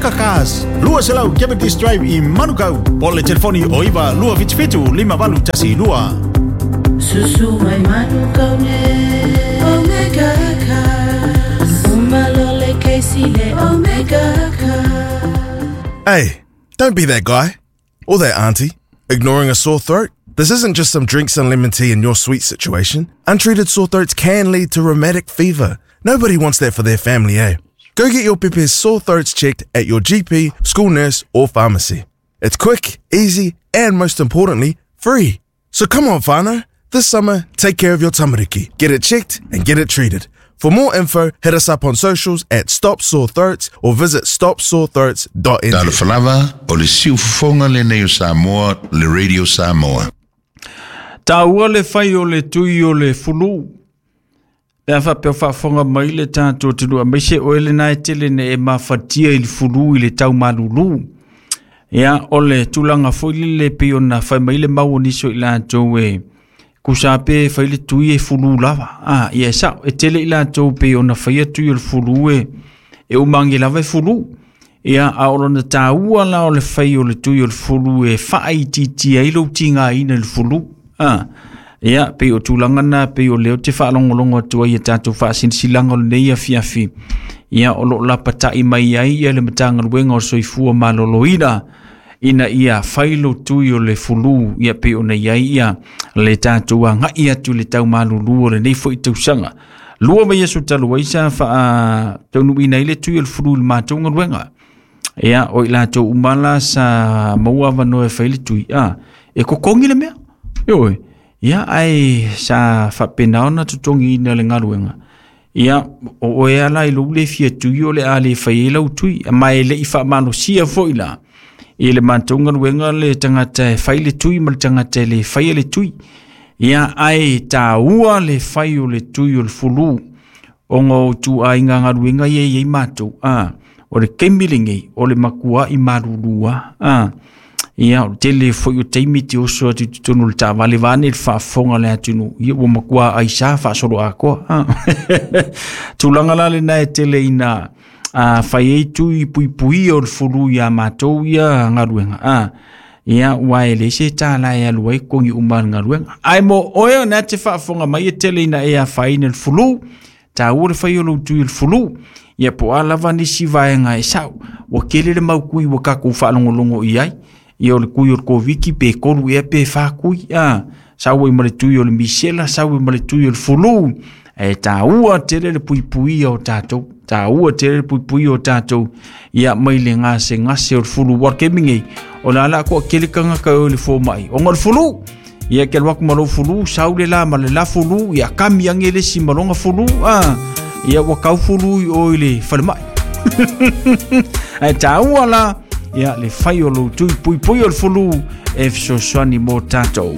Omega Cars, 200 Cavendish Drive i Manukau. Po o le telefoni o 9 277 5812. Susu mai Manukau nei Omega Cars. Uma loa le kesi le Omega Cars. Hey, don't be that guy. Or that auntie. Ignoring a sore throat? This isn't just some drinks and lemon tea in your sweet situation. Untreated sore throats can lead to rheumatic fever. Nobody wants that for their family, eh? Go get your pepe's sore throats checked at your GP, school nurse, or pharmacy. It's quick, easy, and most importantly, free. So come on, whānau. This summer, take care of your tamariki. Get it checked and get it treated. For more info, hit us up on socials at Stop Sore Throats or visit stopsorethroats.nz. Talofa lava, o le siufofoga lenei o Samoa, le Radio Samoa. Taua le fai o le tui o le fulu. Pe a faapea o faafofoga mai le tatou atunuu aemaise oe lena e tele ina e mafatia i le fulu i le tau malulu. Ia, o le tulaga foi lele pei ona fai mai le mau o nisi o i latou e tusa pe fai le tui e fulu lava. Ah, ia e sao, e tele i latou pei ona faia tui o le fulu e, e uma age lava e fulu. Ia, a o lona taua la o le fai o le tui o le fulu e faaitiitia ai lou tigaina i le fulu. Ah, ia, pei o tulaga na pei o lea ou te faalogologo atu ai i a tatou faasilasilaga o lenei afiafi. Ia, o lo o lapatai mai ai ia le Matagaluega o le Soifua Maloloina ina ia fai lo tui o le fulu ia pei ona i ai ia le tatou agai atu i le tau malulu o lenei foi tausaga. Lua vaiaso talu ai sa faataunuuina ai le tui o le fulu i le matou galuega. Ia, o i latou uma la sa maua avanoa e fai le tui, a, e totogi le mea. Ioe. Ia, ae sa faapena ona totogiina le galuega. Ia, o oe lava la i lou le fia tui o le a le fai ai lau tui. Ma e le i faamalosia foi la i le matou galuega le tagata e fai le tui ma le tagata e le faia le tui. Ia, ae taua le fai o le tui o le fulu ona o ituaiga galuega ia e i ai matou. A, o le taimi lenei, o le matuai malulu lava. A, ia, o le tele foi o taimi e te oso atu i totonu o le taavale vaeane le faafofoga a le atunuu, ia ua matua aisa faasoloatoa. A, tulaga la lena e tele ina a, fai ai tui puipuia o le fulu ia matou ia galuega. A, ia, aua e leai se tala e alu ai totogi uma o le galuega. Ae mo oe o lena e te faafofoga mai e tele ina e afaina i le fulu, taua le fai o lou tui o le fulu. Ia po o a lava nisi vaega e sao, ua tele le mau tui ua tatou faalogologo i ai. Ia o le tui o le Koviti pe 3 ea pe 4 tui, a, sau ai ma le tui o le misela, sau ai ma le tui o le fulu. E taua tele le puipuia o tatou, taua tele le puipuia o tatou, ia mai le gasegase o le fulu. Ua o le taimi nei, o le a la toatele tagata e o i le fomai, ona o le fulu. Ia e te alu atu ma lou fulu, sau le la ma le la fulu, ia kami ane le isi ma lona fulu, a, ia ua tau fulu i o i le falemai. Ae taua la, ia le fai o lou tui puipui o le fulu e fesoasoani mo tatou.